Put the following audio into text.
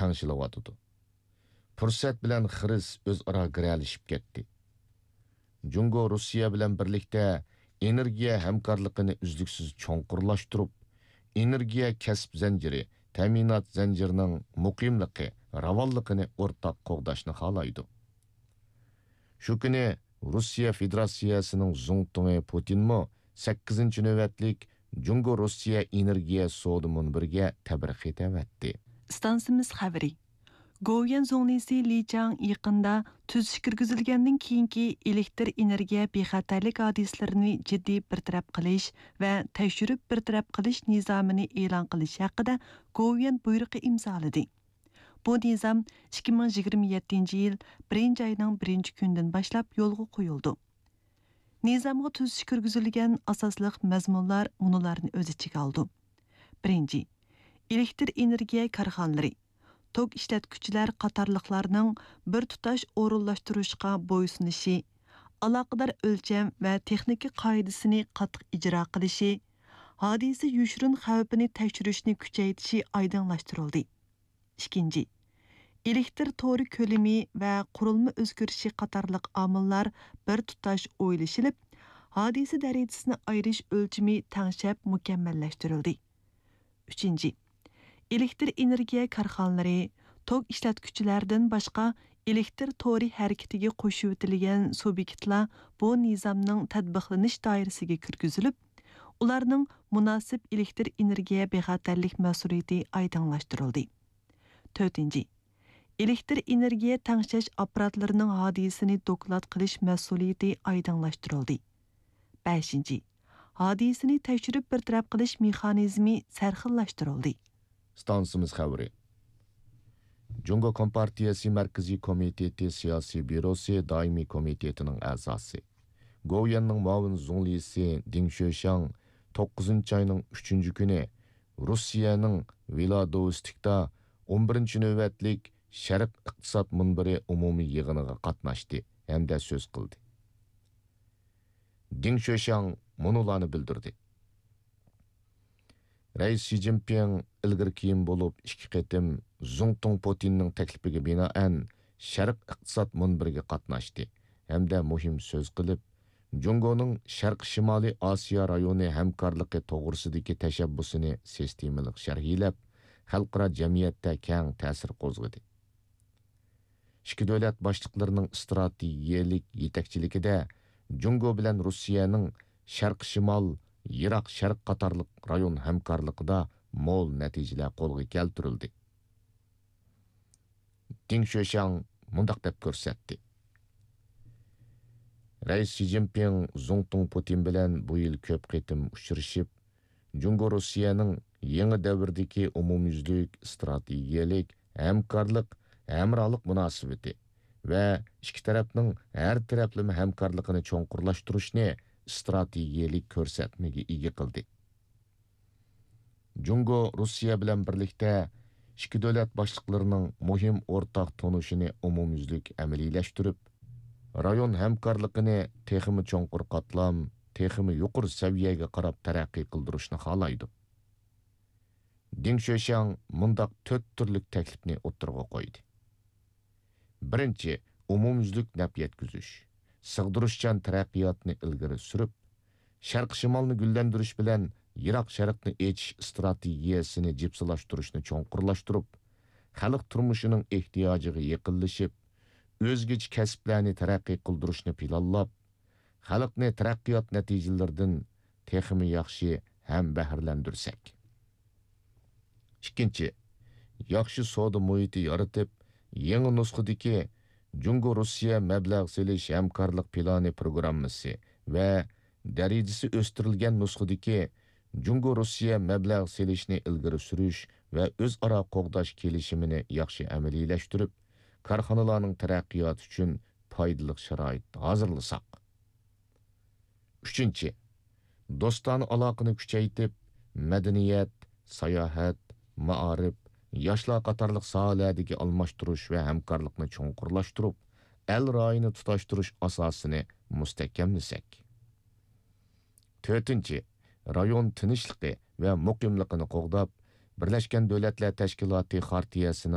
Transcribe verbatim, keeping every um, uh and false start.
تەڭشىلىۋاتىدۇ. پۇرسەت بىلەن خىرىس ئۆزئارا گىرەلىشىپ كەتتى. جۇڭگو روسىيە بىلەن بىرلىكتە ئېنېرگىيە ھەمكارلىقىنى ئۈزلۈكسىز چوڭقۇرلاشتۇرۇپ، ئېنېرگىيە كەسىپ زەنجىرى، تەمىنات زەنجىرىنىڭ مۇقىملىقى، راۋانلىقىنى ئورتاق قوغداشنى خالايدۇ. شۇ كۈنى روسىيە فېدېراتسىيەسىنىڭ زۇڭتۇڭى پۇتىنمۇ سەككىزىنچى نۆۋەتلىك جۇڭگو روسىيە ئېنېرگىيە سودا مۇنبىرىگە تەبرىك خېتى ئەۋەتتى. ئىستانسىمىز خەۋىرى. گوۋۇيۈەن زۇڭلىسى لى چاڭ يېقىندا تۈزىتىش كىرگۈزۈلگەندىن كېيىنكى ئېلېكتر ئېنېرگىيە بىخەتەرلىك ھادىسىلىرىنى جىددىي بىر تەرەپ قىلىش ۋە تەكشۈرۈپ بىر تەرەپ قىلىش نىزامىنى ئېلان قىلىش ھەققىدە گوۋۇيۈەن بۇيرۇقى ئىمزالىدى. بۇ نىزام ئىككى مىڭ يىگىرمە يەتتىنچى يىل بىرىنچى ئاينىڭ بىرىنچى كۈنىدىن باشلاپ يولغا قويۇلىدۇ. نىزامغا تۈزىتىش كىرگۈزۈلگەن ئاساسلىق مەزمۇنلار مۇنۇلارنى ئۆز ئىچىگە ئالىدۇ. بىرىنچى، ئېلېكتر ئېنېرگىيە كارخانىلىرى، توك ئىشلەتكۈچىلەر قاتارلىقلارنىڭ بىر تۇتاش ئورۇنلاشتۇرۇشقا بويسۇنۇشى، ئالاقىدار ئۆلچەم ۋە تېخنىكا قائىدىسىنى قاتتىق ئىجرا قىلىشى، ھادىسە يوشۇرۇن خەۋپىنى تەكشۈرۈشنى كۈچەيتىشى ئايدىڭلاشتۇرۇلدى. ئىككىنچى، ئېلېكتر تورى كۆلىمى ۋە قۇرۇلما ئۆزگىرىشى قاتارلىق ئامىللار بىر تۇتاش ئويلىشىلىپ، ھادىسە دەرىجىسىنى ئايرىش ئۆلچىمى تەڭشەپ مۇكەممەللەشتۈرۈلدى. ئۈچىنچى، ئېلېكتر ئېنېرگىيە كارخانىلىرى، توك ئىشلەتكۈچىلەردىن باشقا ئېلېكتر تورى ھەرىكىتىگە قوشۇۋېتىلگەن سۇبيېكتلار بۇ نىزامنىڭ تەتبىقلىنىش دائىرىسىگە كىرگۈزۈلۈپ، ئۇلارنىڭ مۇناسىپ ئېلېكتر ئېنېرگىيە بىخەتەرلىك مەسئۇلىيىتى ئايدىڭلاشتۇرۇلدى. تۆتىنچى، ئېلېكتر ئېنېرگىيە تەڭشەش ئاپپاراتلىرىنىڭ ھادىسىنى دوكلات قىلىش مەسئۇلىيىتى ئايدىڭلاشتۇرۇلدى. بەشىنچى، ھادىسىنى تەكشۈرۈپ بىر تەرەپ قىلىش مېخانىزمى سەرخىللاشتۇرۇلدى. ئىستانسىمىز خەۋىرى. جۇڭگو كومپارتىيەسى مەركىزىي كومىتېتى سىياسىي بيۇروسى دائىمىي كومىتېتىنىڭ ئەزاسى، گوۋۇيۈەننىڭ مۇئاۋىن زۇڭلىسى دىڭ شۆشياڭ توققۇزىنچى ئاينىڭ ئۈچىنچى كۈنى روسىيەنىڭ ۋىلادوۋستىكتا ئون بىرىنچى نۆۋەتلىك شەرق ئىقتىساد مۇنبىرى ئومۇمىي يىغىنىغا قاتناشتى ھەمدە سۆز قىلدى. دىڭ شۆشياڭ مۇنۇلارنى بىلدۈردى. رەئىس شى جىنپىڭ ئىلگىرى كېيىن بولۇپ ئىككى قېتىم زۇڭتۇڭ پۇتىننىڭ تەكلىپىگە بىنائەن شەرق ئىقتىساد مۇنبىرىگە قاتناشتى ھەمدە مۇھىم سۆز قىلىپ، جۇڭگونىڭ شەرقىي شىمالىي ئاسىيا رايونى ھەمكارلىقى توغرىسىدىكى تەشەببۇسىنى سىستېمىلىق شەرھلەپ، خەلقئارا جەمئىيەتتە كەڭ تەسىر قوزغىدى. ئىككى دۆلەت باشلىقلىرىنىڭ ئىستراتېگىيەلىك يېتەكچىلىكىدە جۇڭگو بىلەن روسىيەنىڭ شەرقىي شىمال، يىراق شەرق قاتارلىق رايون ھەمكارلىقىدا مول نەتىجىلەر قولغا كەلتۈرۈلدى. دىڭ شۆشياڭ مۇنداق دەپ كۆرسەتتى. رەئىس شى جىنپىڭ زۇڭتۇڭ پۇتىن بىلەن بۇ يىل كۆپ قېتىم ئۇچرىشىپ، جۇڭگو روسىيەنىڭ يېڭى دەۋردىكى ئومۇميۈزلۈك ئىستراتېگىيەلىك ھەمكارلىق، ھەمراھلىق مۇناسىۋىتى ۋە ئىككى تەرەپنىڭ ھەر تەرەپلىمە ھەمكارلىقىنى چوڭقۇرلاشتۇرۇشنى ئىستراتېگىيەلىك كۆرسەتمىگە ئىگە قىلدى. جۇڭگو روسىيە بىلەن بىرلىكتە ئىككى دۆلەت باشلىقلىرىنىڭ مۇھىم ئورتاق تونۇشىنى ئومۇميۈزلۈك ئەمەلىيلەشتۈرۈپ، رايون ھەمكارلىقىنى تېخىمۇ چوڭقۇر قاتلام، تېخىمۇ يۇقىرى سەۋىيەگە قاراپ تەرەققىي قىلدۇرۇشنى خالايدۇ. دىڭ شۆشياڭ مۇنداق تۆت تۈرلۈك تەكلىپنى ئوتتۇرىغا قويدى. بىرىنچى، ئومۇميۈزلۈك نەپ يەتكۈزۈش، سىغدۇرۇشچان تەرەققىياتنى ئىلگىرى سۈرۈپ، شەرقىي شىمالنى گۈللەندۈرۈش بىلەن يىراق شەرقنى ئېچىش ئىستراتېگىيەسىنى جىپسىلاشتۇرۇشنى چوڭقۇرلاشتۇرۇپ، خەلق تۇرمۇشىنىڭ ئېھتىياجىغا يېقىنلىشىپ، ئۆزگىچە كەسىپلەرنى تەرەققىي قىلدۇرۇشنى پىلانلاپ، خەلقنى تەرەققىيات نەتىجىلىرىدىن تېخىمۇ ياخشى ھەم بەھرىلەندۈرسەك. ئىككىنچى، ياخشى سودا مۇھىتى يارىتىپ، يېڭى نۇسخىدىكى جۇڭگو روسىيە مەبلەغ سېلىش ھەمكارلىق پىلانى پروگراممىسى ۋە دەرىجىسى ئۆستۈرۈلگەن نۇسخىدىكى جۇڭگو روسىيە مەبلەغ سېلىشنى ئىلگىرى سۈرۈش ۋە ئۆزئارا قوغداش كېلىشىمىنى ياخشى ئەمەلىيلەشتۈرۈپ، كارخانىلارنىڭ تەرەققىياتى ئۈچۈن پايدىلىق شارائىت ھازىرلىساق. ئۈچىنچى، دوستانە ئالاقىنى كۈچەيتىپ، مەدەنىيەت، ساياھەت، مائارىپ، ياشلار قاتارلىق ساھەلەردىكى ئالماشتۇرۇش ۋە ھەمكارلىقنى چوڭقۇرلاشتۇرۇپ، ئەل رايىنى تۇتاشتۇرۇش ئاساسىنى مۇستەھكەملىسەك. تۆتىنچى، رايون تىنچلىقى ۋە مۇقىملىقىنى قوغداپ، بىرلەشكەن دۆلەتلەر تەشكىلاتى خارتىيەسىنىڭ